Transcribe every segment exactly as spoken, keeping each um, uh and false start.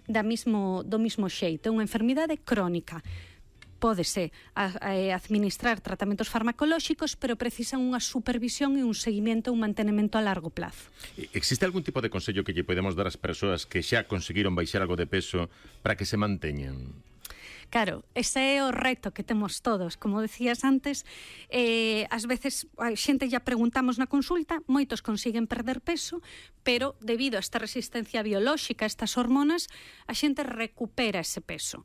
da mismo, do mismo xeito. É unha enfermidade crónica. Pódese a, a, administrar tratamentos farmacolóxicos, pero precisan unha supervisión e un seguimento, un mantenimento a largo plazo. Existe algún tipo de consello que lle podemos dar ás persoas que xa conseguiron baixar algo de peso para que se manteñan? Claro, ese é o reto que temos todos. Como decías antes, eh, ás veces a xente ya preguntamos na consulta, moitos consiguen perder peso, pero debido a esta resistencia biolóxica, a estas hormonas, a xente recupera ese peso.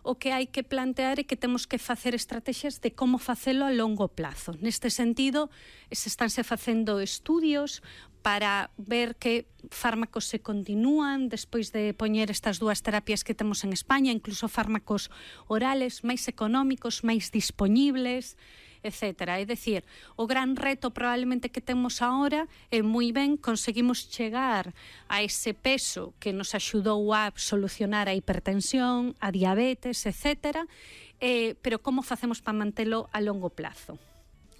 O que hai que plantear é que temos que facer estrategias de como facelo a longo plazo. Neste sentido, se estánse facendo estudios para ver que fármacos se continúan despois de poñer estas dúas terapias que temos en España, incluso fármacos orales máis económicos, máis dispoñibles, etcétera. É dicir, o gran reto probablemente que temos agora é moi ben conseguimos chegar a ese peso que nos axudou a solucionar a hipertensión, a diabetes, etcétera, eh, pero como facemos para mantelo a longo plazo?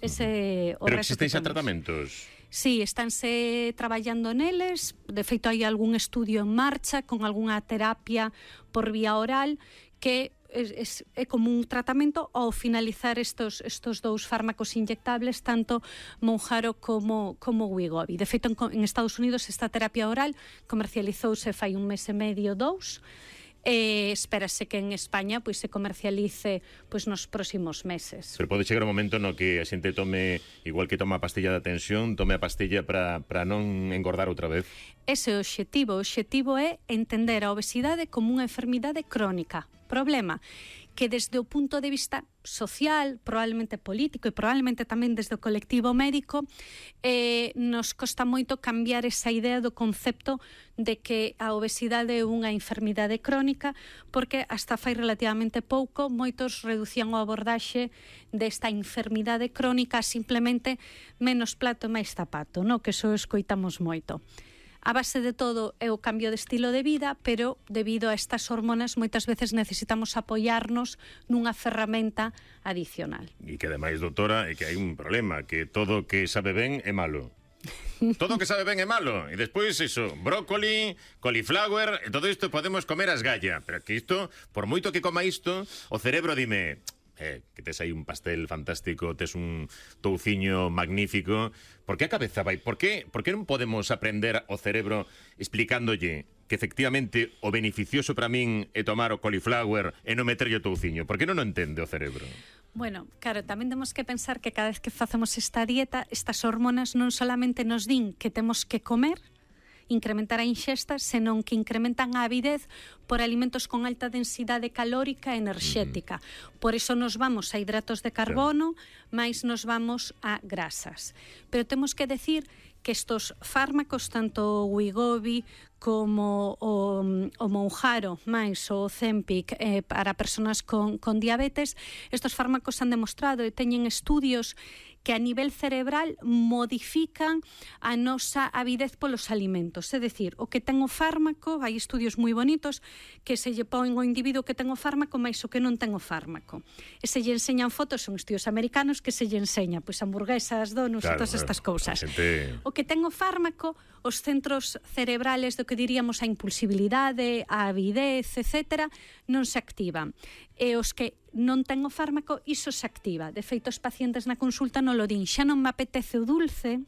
Ese o Pero reto existen que xa temos. tratamentos? Sí, estánse traballando neles. De feito, hai algún estudio en marcha con algunha terapia por vía oral que é, é como un tratamento ao finalizar estos, estos dous fármacos inyectables, tanto Mounjaro como, como Wegovy. De feito, en, en Estados Unidos esta terapia oral comercializouse fai un mes e medio, dous, e espérase que en España pois se comercialice pois nos próximos meses. Pero pode chegar un momento no que a xente tome, igual que toma a pastilla da tensión, tome a pastilla para, para non engordar outra vez? Ese é o obxectivo. O obxectivo é entender a obesidade como unha enfermidade crónica. Problema que desde o punto de vista social, probablemente político e probablemente tamén desde o colectivo médico, eh, nos costa moito cambiar esa idea do concepto de que a obesidade é unha enfermidade crónica, porque hasta fai relativamente pouco moitos reducían o abordaxe desta enfermidade crónica a simplemente menos plato e máis zapato, no? Que eso escoitamos moito. A base de todo é o cambio de estilo de vida, pero debido a estas hormonas moitas veces necesitamos apoiarnos nunha ferramenta adicional. E que ademais, doutora, é que hai un problema, que todo que sabe ben é malo. Todo que sabe ben é malo. E despois iso, brócoli, cauliflower, e todo isto podemos comer as galla. Pero que isto, por moito que coma isto, o cerebro dime... Eh, que tes aí un pastel fantástico, tes un touciño magnífico. Por que a cabeza vai? Por que, por que non podemos aprender o cerebro explicándolle que efectivamente o beneficioso para min é tomar o cauliflower e non meterlle o touciño? Por que non o entende o cerebro? Bueno, claro, tamén temos que pensar que cada vez que facemos esta dieta, estas hormonas non solamente nos din que temos que comer, incrementar a inxesta, senón que incrementan a avidez por alimentos con alta densidade calórica e enerxética. Mm. Por iso nos vamos a hidratos de carbono, sí, máis nos vamos a grasas. Pero temos que decir que estos fármacos, tanto o Wegovy como o, o Mounjaro, máis o Ozempic, eh, para persoas con, con diabetes, estos fármacos han demostrado e teñen estudios que a nivel cerebral modifican a nosa avidez polos alimentos. É dicir, o que ten o fármaco, hai estudios moi bonitos que se lle pon ao individuo que ten o fármaco máis o que non ten o fármaco. E se lle enseñan fotos, son estudios americanos, que se lle enseña pois hamburguesas, donuts, claro, e todas estas cousas. Gente... O que ten o fármaco, os centros cerebrales do que diríamos a impulsibilidade, a avidez, etcétera, non se activan. E os que non ten o fármaco, iso se activa. De feito, os pacientes na consulta non lo din, xa non me apetece o dulce,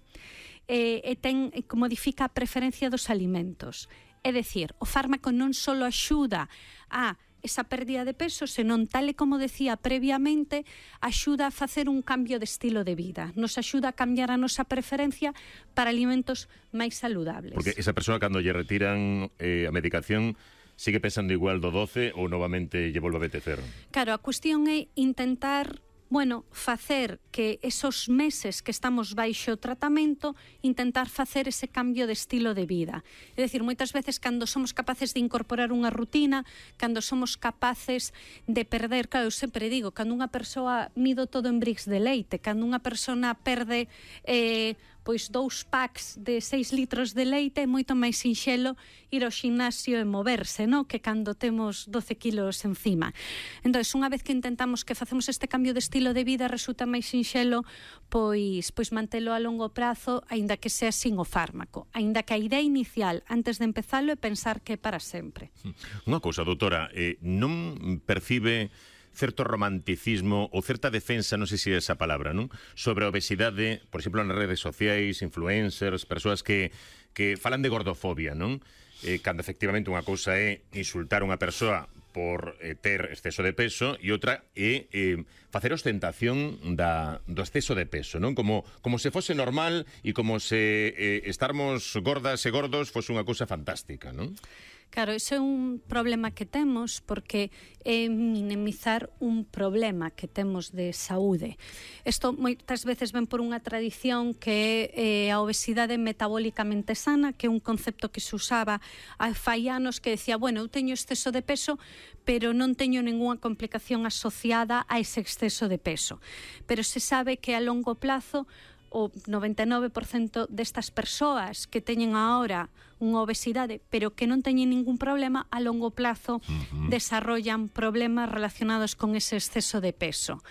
e, e ten, e modifica a preferencia dos alimentos. É dicir, o fármaco non só axuda a esa pérdida de peso, senón, tal e como decía previamente, axuda a facer un cambio de estilo de vida. Nos axuda a cambiar a nosa preferencia para alimentos máis saludables. Porque esa persoa, cando lle retiran eh, a medicación, sigue pensando igual do doce ou novamente lle volve a apetecer? Claro, a cuestión é intentar, bueno, facer que esos meses que estamos baixo tratamento, intentar facer ese cambio de estilo de vida. É dicir, moitas veces cando somos capaces de incorporar unha rutina, cando somos capaces de perder, claro, eu sempre digo, cando unha persoa mido todo en brix de leite, cando unha persona perde, eh, pois dous packs de seis litros de leite é moito máis sinxelo ir ao ximnasio e moverse, no? Que cando temos doce kilos encima. Entón, unha vez que intentamos que facemos este cambio de estilo de vida, resulta máis sinxelo pois, pois mantelo a longo prazo, aínda que sea sin o fármaco, aínda que a idea inicial antes de empezalo é pensar que é para sempre. Unha cousa, doutora, eh, non percibe certo romanticismo ou certa defensa, non sei se é esa palabra, non? Sobre a obesidade, por exemplo, nas redes sociais, influencers, persoas que, que falan de gordofobia, non? Eh, cando efectivamente unha cousa é insultar unha persoa por eh, ter exceso de peso e outra é eh, facer ostentación da, do exceso de peso, non? Como, como se fose normal e como se eh, estarmos gordas e gordos fose unha cousa fantástica, non? Claro, iso é un problema que temos porque é minimizar un problema que temos de saúde. Isto moitas veces ven por unha tradición que é eh, a obesidade metabólicamente sana, que é un concepto que se usaba hai fai anos, que decía, bueno, eu teño exceso de peso, pero non teño ningunha complicación asociada a ese exceso de peso. Pero se sabe que a longo plazo o noventa e nove por cento destas persoas que teñen agora unha obesidade, pero que non teñen ningún problema, a longo plazo uh-huh. desarrollan problemas relacionados con ese exceso de peso.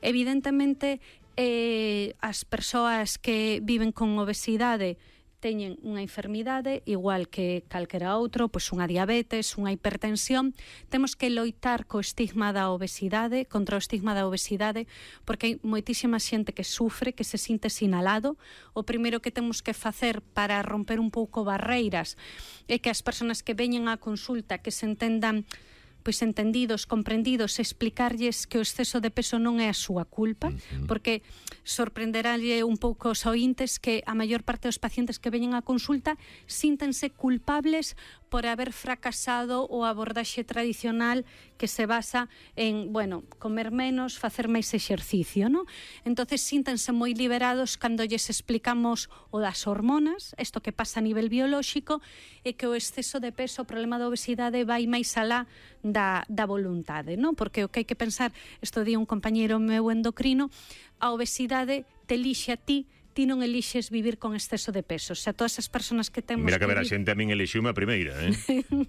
Evidentemente, eh, as persoas que viven con obesidade teñen unha enfermidade igual que calquera outro, pois unha diabetes, unha hipertensión. Temos que loitar co estigma da obesidade, contra o estigma da obesidade, porque hai moitísima xente que sufre, que se sinte sinalado. O primeiro que temos que facer para romper un pouco barreiras é que as persoas que veñen á consulta que se entendan pois entendidos, comprendidos, explicarlles que o exceso de peso non é a súa culpa, uh-huh. porque sorprenderálle un pouco os ointes que a maior parte dos pacientes que veñen á consulta síntense culpables por haber fracasado o abordaxe tradicional que se basa en, bueno, comer menos, facer máis exercicio, non? Entonces síntense moi liberados cando lles explicamos o das hormonas, isto que pasa a nivel biolóxico, e que o exceso de peso, o problema da obesidade vai máis alá da, da voluntade, non? Porque o que hai que pensar, isto di un compañeiro meu endocrino, a obesidade te elixe a ti, ti non elixes vivir con exceso de peso. O sea, todas as persoas que temos... Mira que ver, a vivir... xente a min elixiume a primeira, eh?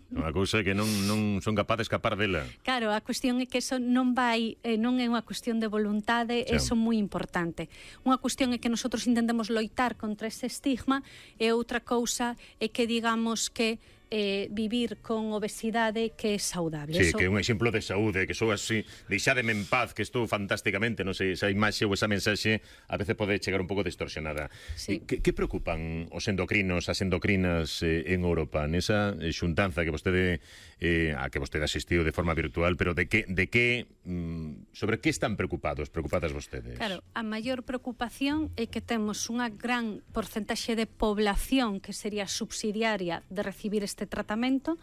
Unha cousa que non, non son capaz de escapar dela. Claro, a cuestión é que eso non vai, eh, non é unha cuestión de voluntade, sí. Eso é moi importante. Unha cuestión é que nosotros intentemos loitar contra ese estigma, e outra cousa é que digamos que eh, vivir con obesidade que é saudable. Sí, eso... que é un exemplo de saúde, que sou así, deixádeme en paz, que estou fantásticamente, non sei, esa imaxe ou esa mensaxe a veces pode chegar un pouco distorsionada. Sí. Que, que preocupan os endocrinos, as endocrinas eh, en Europa, nesa xuntanza que vostede eh, a que vostede asistiu de forma virtual, pero de que, de que mm, sobre que están preocupados, preocupadas vostedes? Claro, a maior preocupación é que temos unha gran porcentaxe de población que sería subsidiaria de recibir este tratamento,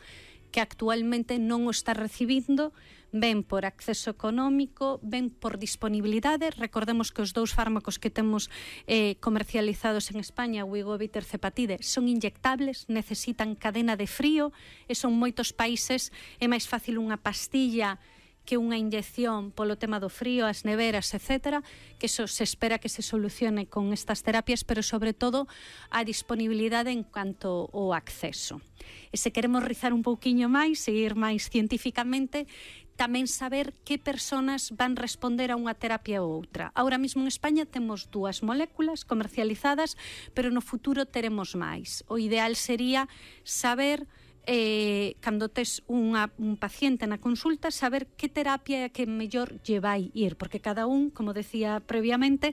que actualmente non o está recibindo, ben por acceso económico, ben por disponibilidade. Recordemos que os dous fármacos que temos eh, comercializados en España, o Wegovy e Tirzepatide, son inyectables, necesitan cadena de frío, e son moitos países, é máis fácil unha pastilla que unha inyección polo tema do frío, as neveras, etcétera, que eso se espera que se solucione con estas terapias, pero sobre todo a disponibilidade en canto ao acceso. E se queremos rizar un pouquiño máis e ir máis científicamente, tamén saber que persoas van responder a unha terapia ou outra. Ahora mesmo en España temos dúas moléculas comercializadas, pero no futuro teremos máis. O ideal sería saber eh, cando tes unha, un paciente na consulta, saber que terapia é a que mellor lle vai ir, porque cada un, como decía previamente,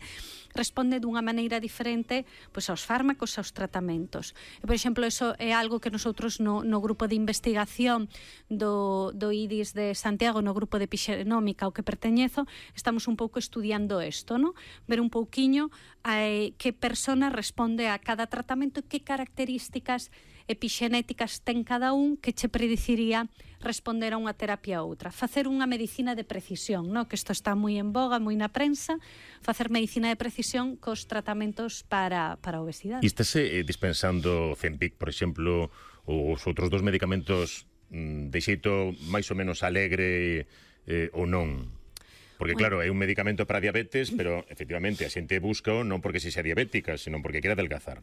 responde dunha maneira diferente pois, aos fármacos, aos tratamentos. E, por exemplo, eso é algo que nosotros no, no grupo de investigación do, do I D I S de Santiago, no grupo de Epixenómica ao que perteñezo, estamos un pouco estudiando isto, ¿no? Ver un pouquiño eh, que persona responde a cada tratamento e que características epixenéticas ten cada un que che prediciría responder a unha terapia ou outra. Facer unha medicina de precisión, no? Que isto está moi en boga, moi na prensa, facer medicina de precisión cos tratamentos para, para a obesidade. E estáse eh, dispensando Zempic, por exemplo, ou os outros dos medicamentos mm, de xeito máis ou menos alegre eh, ou non? Porque claro, é un medicamento para diabetes, pero efectivamente a xente busca non porque se xa diabética, senón porque quere adelgazar.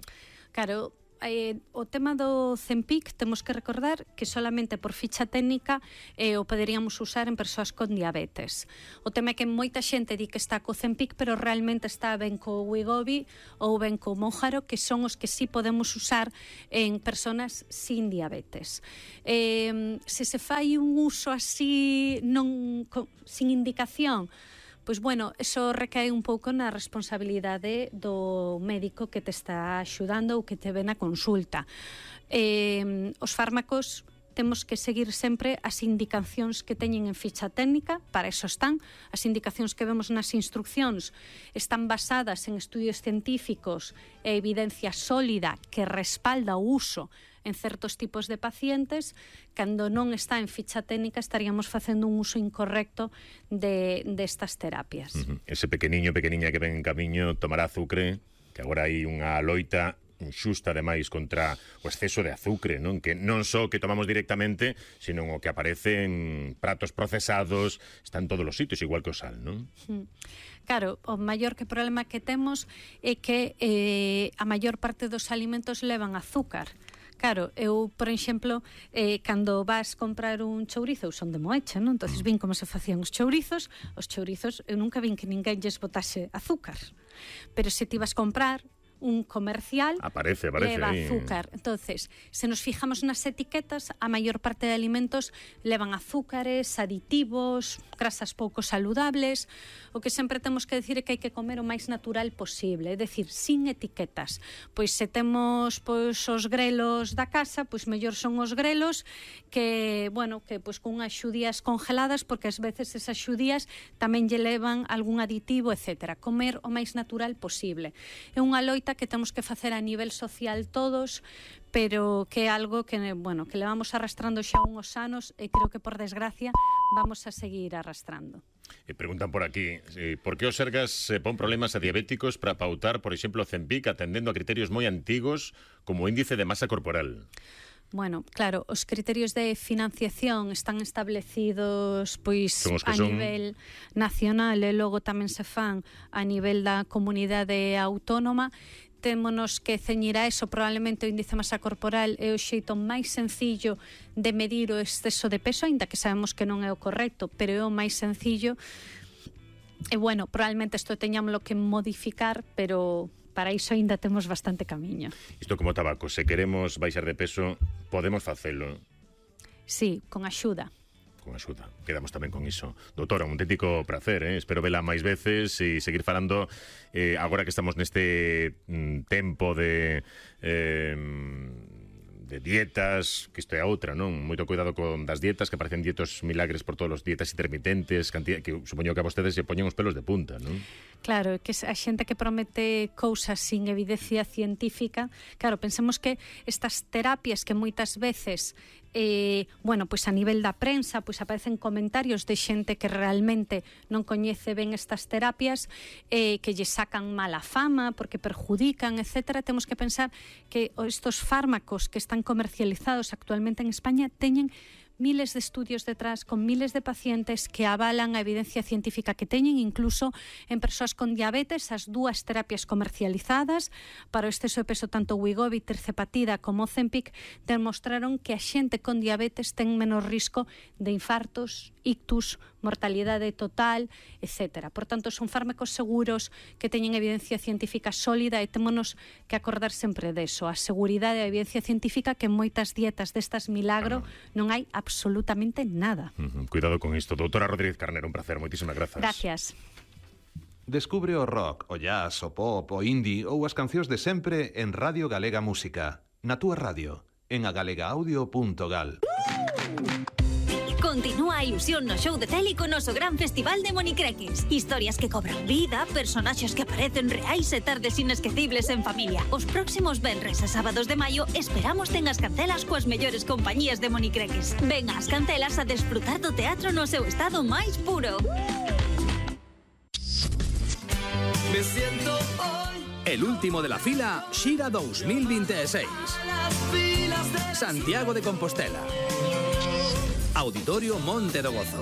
Claro, eh, o tema do Zempic temos que recordar que solamente por ficha técnica eh, o poderíamos usar en persoas con diabetes. O tema é que moita xente di que está co Zempic, pero realmente está ben co Wegovy ou ben co Mounjaro, que son os que sí podemos usar en persoas sin diabetes. Eh, se se fai un uso así non co, sin indicación, pois, bueno, eso recae un pouco na responsabilidade do médico que te está axudando ou que te ve na consulta. Eh, os fármacos temos que seguir sempre as indicacións que teñen en ficha técnica, para eso están. As indicacións que vemos nas instruccións están basadas en estudios científicos e evidencia sólida que respalda o uso en certos tipos de pacientes. Cando non está en ficha técnica estaríamos facendo un uso incorrecto de, de estas terapias. Uh-huh. Ese pequeniño, pequeniña que ven en camiño tomará azucre, que agora hai unha loita xusta ademais contra o exceso de azucre, non? Que non só que tomamos directamente, sino o que aparece en pratos procesados, está en todos os sitios, igual que o sal, non? Mm. Claro, o maior que problema que temos é que eh, a maior parte dos alimentos levan azúcar. Claro, eu, por exemplo, eh, cando vas comprar un chourizo, son de Moeche, non? Entonces vin como se facían os chourizos. Os chourizos, eu nunca vin que ninguén lles botase azúcar. Pero se ti vas comprar un comercial, aparece, aparece leva ahí. azúcar. Entonces, se nos fijamos nas etiquetas, a maior parte de alimentos levan azúcares, aditivos, grasas pouco saludables. O que sempre temos que decir é que hai que comer o máis natural posible, é dicir, sin etiquetas. Pois se temos pois os grelos da casa, pois mellor son os grelos que, bueno, que pois con unhas xudías congeladas, porque ás veces esas xudías tamén lle levan algún aditivo, etcétera. Comer o máis natural posible. É unha loita que temos que facer a nivel social todos, pero que é algo que, bueno, que levamos arrastrando xa uns anos e creo que, por desgracia, vamos a seguir arrastrando. E preguntan por aquí, eh, por que os Sergas se pon problemas a diabéticos para pautar, por exemplo, Zempic, atendendo a criterios moi antigos como o índice de masa corporal? Bueno, claro, os criterios de financiación están establecidos pois a son... nivel nacional e logo tamén se fan a nivel da comunidade autónoma. Témonos que ceñir a eso. Probablemente o índice de masa corporal é o xeito máis sencillo de medir o exceso de peso, aínda que sabemos que non é o correcto, pero é o máis sencillo. E bueno, probablemente isto teñámoslo que modificar, pero para iso aínda temos bastante camiño. Isto como tabaco, se queremos baixar de peso, podemos facelo? Sí, con axuda. Con axuda, quedamos tamén con iso. Doutora, un auténtico placer, eh? Espero vela máis veces e seguir falando eh, agora que estamos neste mm, tempo de... Eh, de dietas, que isto é outra, non? Moito cuidado con das dietas, que parecen dietos milagres por todos os dietas intermitentes, cantidad, que supoño que a vostedes se poñen os pelos de punta, non? Claro, que a xente que promete cousas sin evidencia científica, claro, pensemos que estas terapias que moitas veces Eh, bueno, pois a nivel da prensa pois aparecen comentarios de xente que realmente non coñece ben estas terapias, eh, que lle sacan mala fama porque perjudican, etcétera. Temos que pensar que estos fármacos que están comercializados actualmente en España teñen miles de estudios detrás, con miles de pacientes que avalan a evidencia científica que teñen, incluso en persoas con diabetes. As dúas terapias comercializadas para o exceso de peso, tanto Wegovy, tirzepatida como Zempic, demostraron que a xente con diabetes ten menos risco de infartos, ictus, mortalidade total, etcétera. Por tanto, son fármacos seguros que teñen evidencia científica sólida e témonos que acordar sempre deso, a seguridade e a evidencia científica, que en moitas dietas destas milagro non hai absolutamente nada. Uh-huh. Cuidado con isto. Doutora Rodríguez Carnero, un placer, moitísimas grazas. Gracias. Descubre o rock, o jazz, o pop, o indie ou as cancións de sempre en Radio Galega Música, na túa radio, en agalegaaudio punto gal. Continúa a ilusión no show de tele con noso gran festival de monicreques. Historias que cobran vida, personaxes que aparecen reais e tardes inesquecibles en familia. Os próximos venres e sábados de maio esperamos ten as cancelas coas mellores compañías de monicreques. Ven ás cancelas a desfrutar do teatro no seu estado máis puro. Me siento hoy el último de la fila, Xira dos mil veintiséis. Santiago de Compostela. Auditorio Monte do Gozo.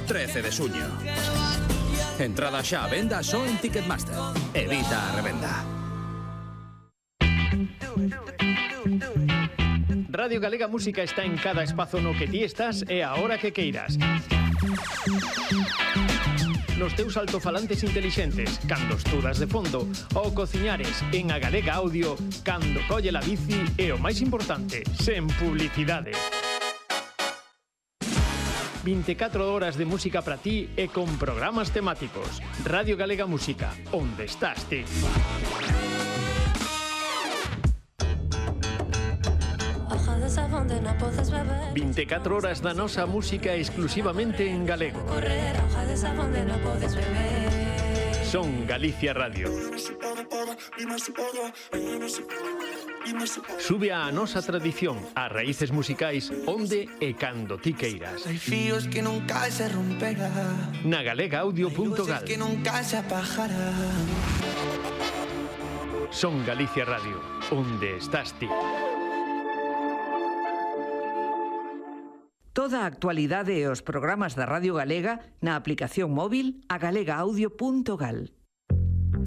trece de suño. Entrada xa a venda só en Ticketmaster. Evita a revenda. Radio Galega Música está en cada espazo no que ti estás e a hora que queiras. Nos teus altofalantes intelixentes, cando estudas de fondo, ou cociñares en a Galega Audio, cando colle la bici e o máis importante, sen publicidade. vinte e catro horas de música para ti e con programas temáticos. Radio Galega Música, onde estás ti? vinte e catro horas da nosa música exclusivamente en galego. Son Galicia Radio. Sube a nosa tradición, a raíces musicais, onde e cando ti queiras. Hai fíos que nunca se romperán, na galega audio punto gal. que nunca se apagarán. Son Galicia Radio, onde estás ti? Toda a actualidade e os programas da Radio Galega na aplicación móvil a galega audio punto gal.